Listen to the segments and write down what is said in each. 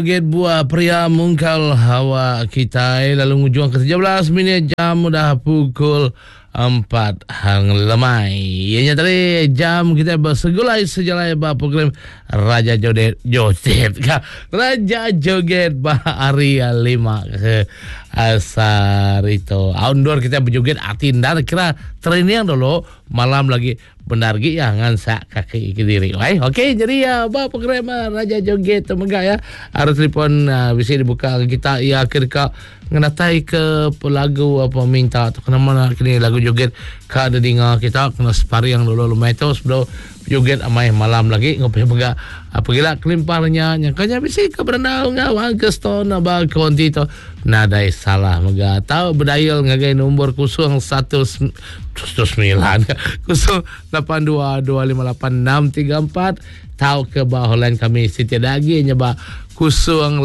Joget buah pria mungkal hawa kitai lalu ngujung ke 17 minit jam udah pukul 4 hang lemai. Iya nya tadi jam kita bersegulai sejalai ba program Raja Joget Joget ka Raja Joget ba hari lima ke asar itu. Aundur kita berjoget ati ndar kira training dulu malam lagi Bendar gi iya ngansak kaki kediri. Wai, okey jadi ya ba program ah, Raja Joget tu mega ya. Arus telefon uh, bisi dibuka kita ya ke deka ngenatai ke lagu apa minta tu kena mana kini lagu joget ka dinga kita kena separing dulu lumai tu sebelum joget amai malam lagi ngopi mega apa gila kelimpahnya nyangkanya bisi ke berandau enggau Uncle Stone ba konti tu Nadai salah mega tau bedayal ngagai nombor 01 9 082 258 634 tau ke ba hotline kami siti ada agi nya ba 082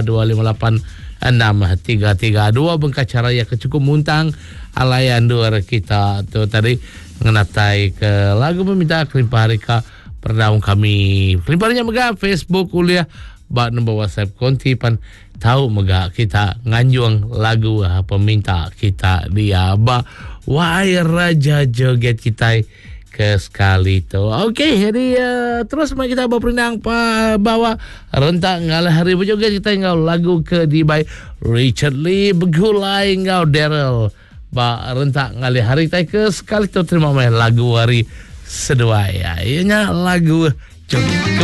258 633 dua bengkah cara ya ke cukup muntang alai andur kita tu tadi ngenatai ke lagu meminta kelimpah hari ka perdaung kami kelimpah nya mega Facebook ulih ba nombor WhatsApp konti pan Tau mega kita nganjung lagu peminta kita dia ba Wai Raja Joget kitai ke sekali tu. Okey, jadi uh, terus mari kita berperindang pa bawa rentak ngalah hari berjoget kita enggau lagu ke dibai Richard Lee begulai enggau Daryl ba rentak ngalih hari kitai ke sekali tu terima mai lagu hari seduai. Ya, ianya lagu joget.